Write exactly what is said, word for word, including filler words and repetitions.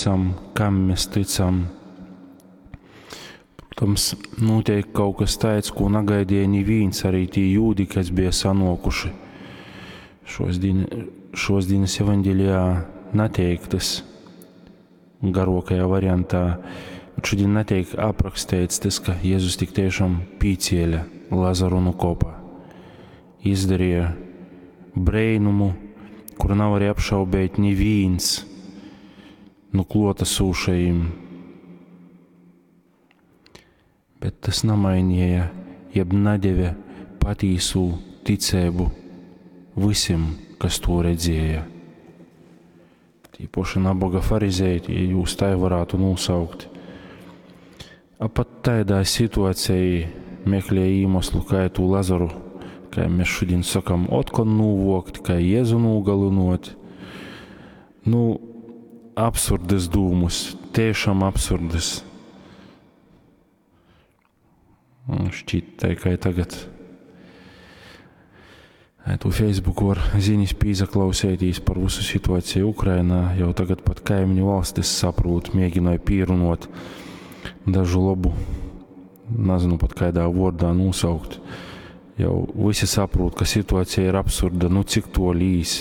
tycam, kam mēs tycam. Protams, notiek kaut kas tāds, ko nagaidīja neviens, arī tie jūdi, kas bija sanokuši. Šos, dien, šos dienas evaņģēlijā neteiktas garokajā variantā, bet šodien netiek aprakstīts tas, ka Jēzus tik tiešām pīcēla Lazaru no kopa. Izdarīja brēnumu, kuru nav arī apšaubēt neviens no klātesošajiem. Bet tas nemainīja, jeb nedēva patīsu ticību visiem, kas to redzēja. Tīpoši nabaga farizēji, ja jūs tā varētu nosaukt. A pat tādā situācijā meklēja iemeslu, kā to Lazaru, kā mēs šodien sakam, otkon nūvokt, kā Jēzu nūgalinot. Nu, absurdas dūmus, tiešām absurdas. Un šķiet, tā kā tagad. Ai, tu Facebook var ziņas pīzaklausētīs par visu situāciju Ukrainā, jau tagad pat kaimiņu valstis saprūt, mēģināja pīrunot dažu labu, nezinu pat kādā vārdā nosaukt. Jau visi saprūt, ka situācija ir absurda, nu cik to līs.